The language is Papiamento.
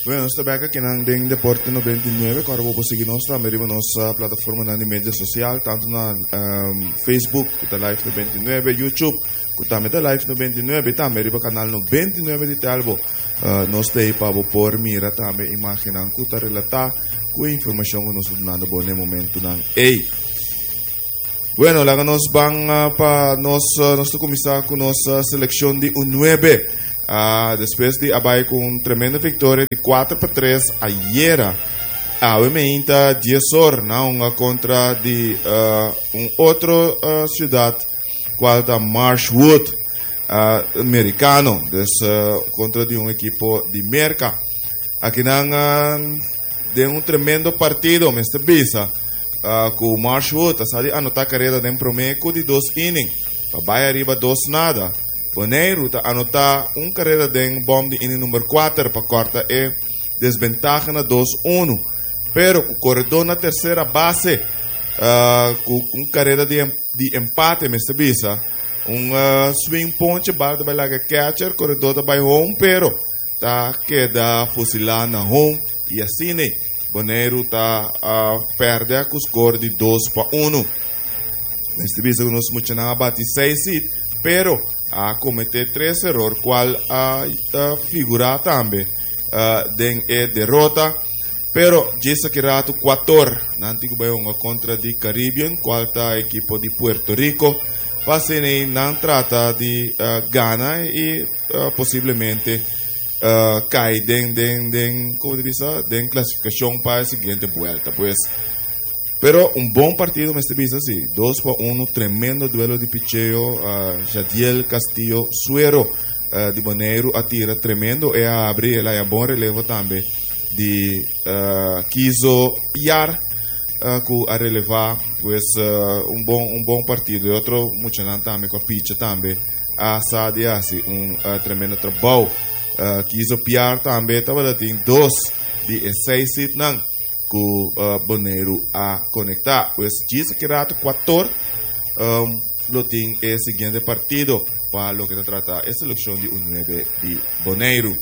Bueno, nos ta bek akinan den Deporte 99. Kòrda bo por sigui nos tambe riba nos plataformanan di media sosial, tantu na Facebook ku ta Live 99, YouTube ku tambe ta Live 99 i tambe riba kanal 99 di Telbo. Nos ta ei pa bo por mira tambe imágennan ku ta relatá ku e informashon ku nos ta dunando bo na e momentunan ei. Bueno, laga nos ban ah, pa nos, ah, nos ta kuminsá ku nos ah, selekshon di U9. Ah, despues di a bai ku un tremendo viktoria di 4-3 ayera. Awe meinta 10 or na hunga kontra di ah, un otro ah, siudat kual ta Marshwood ah, amerikano. Dus ah, kontra di un ekipo di Merka. Akinan ah, Den un tremendo partido mester bisa cu Marshwood a sa di anota careda den prome cu di dos inning pa bay ariba 2-0. Boneiru ta anota un careda den bom di inning number 4 pa corta e desbentaha na 2-1. Pero cu coredor na tercera base cu un careda di di empate mester bisa un swing ponche bal ta bay laga catcher, coredor ta bay home pero ta keda fusilá na home i asina Boneiru ta pèrdè ku skor di 2-1. Mester bisa ku nos muchanan a bati seis hit, pero a kometé tres eror kual a figurá tambe den e derota. Pero djis aki ratu kuator nan tin ku bai hunga kontra di Caribbean kual ta ekipo di Puerto Rico pa asina nan trata di gana i posiblemente kai den den den como te bisa den clasificacion pa e siguiente vuelta pues pero un bon partido mester bisa si 2-1 tremendo duelo di picheo Jadiel Castillo Suero di Boneiru a tira tremendo e a abri el a bon relevo tambe di Kizo Piar ku a releva pues un bon un bon partido e otro muchanan tambe ku a picha tambe a sa di hasi un tremendo trabou. Kizo Piar tambe tabata tin dos di e seis hitnan ku Boneiru a konektá. Pues djis aki rato kuator lo tin e siguiente partido pa loke ta trata e selekshon di U nuebe di Boneiru.